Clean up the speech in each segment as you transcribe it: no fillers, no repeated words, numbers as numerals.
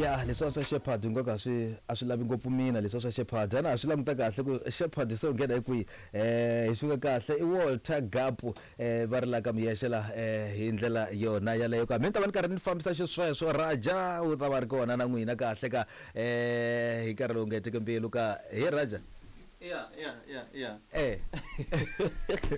Ya, leswiya swa Shepherd ingaku a swi a swi lavi ngopfu mina leswiya swa Shepherd. A na ha swi languta kahle ku Shepherd se u nghena hi kwihi. Hi suka kahle i Walter Gapu va ri la ka Muyexe la hi ndlela yona yaleyo ka. Mi ni ta va ni karhi ni fambisa xisweswo Raja u ta va ri kona na n'wina kahle ka hi nkarhi lowu nga hetiki mbilu ka. He Raja. Ya, ya, ya, ya. Eh.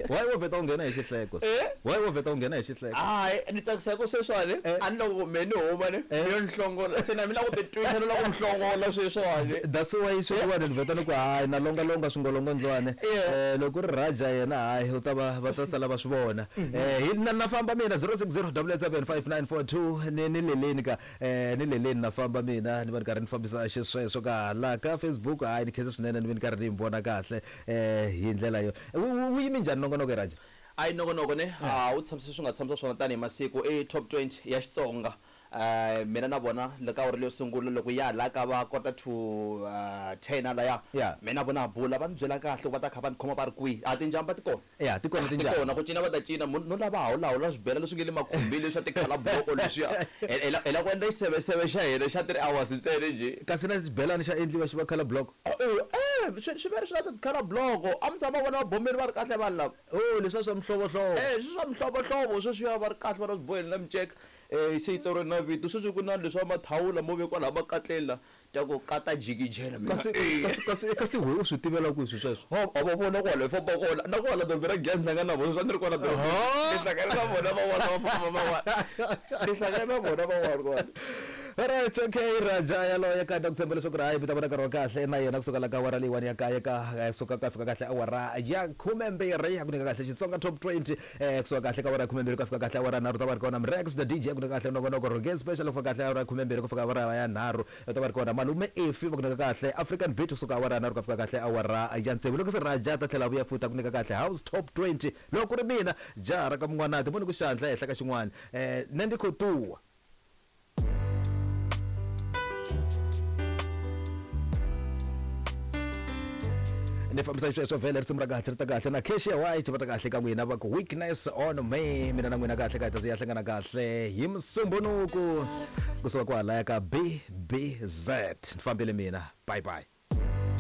Why wo vheta u nghena hi xihleko? Eh? Why wo vheta u nghena hi xihleko? Hayi, ni tsakisa hi ku sweswiwani Eh. a ni loko me ni huma ni Eh. ni yo ni hlongola se na mina ku titwisa ni lava ku mi hlongola sweswiwani. That's why sweswiwani ni vheta ni ku hayi na longalonga swingolongondzwana. Yeah. Eh, loko ku ri Raja yena hayi u ta va va ta sala va swi vona. Eh, hi na na famba mina 060 887 5942 ni ni leleni ka ni leleni na famba mina ni va ni karhi ni fambisa xisweswo ka la ka Facebook hayi ni khensa swinene ni ve ni karhi ni vona kahle hi ndlela yo. Wu yime njhani nongonoko Raja? Ayi nongonoko ne a wu tshamisa swi nga tshamisa swona tanihi masiku i top 20 ya Xitsonga. Mina na vona le ka awara leyo sungula loko ya la ka va kota to 10 halaya. Mina na vona ha bula va ni byela kahle ku va ta kha va ni khoma va ri kwihi. A tinjamba ti kona. Ya, ti kona Ti tinjamba. kona ku cina va ta cina no lava hawulahawula swibela leswi nge le makhumbini leswa tikhala bloko leswiya. Hi la ku endla xiseveseve xa hina xa 3 hours ntsena njhe. Kasi na xibelani xa endliwa xi va khala bloko? Swi vele swi na tikhala bloko. A mi tshama vona vabombeni va ri kahle vanhu lava. Oh, leswiya swa mihlovohlovo. Swi swa mihlovohlovo sweswiya va ri kahle va na swiboheni na miceka. Se yi tsariwe na vito. Sweswi ku na leswa mathawula mo vekiwa laha makatleni la. Ta ku kata jikijela mina. Kasi, kasi, kasi, kasi we u swi tivela kwihi swilo sweswo? Ha, ha va vona kwala hi famba kona. Na kwala dorobeni ra Giyani ni hlangana na vona, sweswi a ni ri kwala dorobeni. Ni hlangane na vona van'wana va famba van'wana. Ni hlangane na vona van'wana kwala. Alright, okay, Raja yaloye ka na ku tshemba leswaku ri hayi mi ta vona nkarhi wa kahle na yena kusuka la ka awara leyiwani ya kaye ka suka ka fika kahle awara ya khumembirhi ya ku nyika kahle Xitsonga Top 20 kusuka kahle ka awara ya khumembirhi ku ya fika kahle awara ya nharhu ta va ri kona Mrex the DJ ya ku nyika kahle nongonoko Rogen Special ku fika kahle awara ya khumembirhi ku fika awara ya nharhu Va ta va ri kona Malume Effie va ku nyika kahle African Beat kusuka awara ya nharhu ku ya fika kahle awara ya tsevu. Loko se Raja a ta tlhela a vuya futhi a ku nyika kahle House Top 20. Loko ku ri mina jaha ra ka Mun'wanati mo ni ku xandla ehenhla ka xin'wana ne ndi kho tuwa. Ni fambisa xisweswo vhele risimu ra kahle ri ta kahle na Cassia White va ta kahle ka n'wina va ku Weakness on Me. Mina na n'wina kahle ka hi ta ze ya hlangana kahle hi Musumbunuku kusuka kwalaya ka BBZ. Ni fambile mina. Bye bye.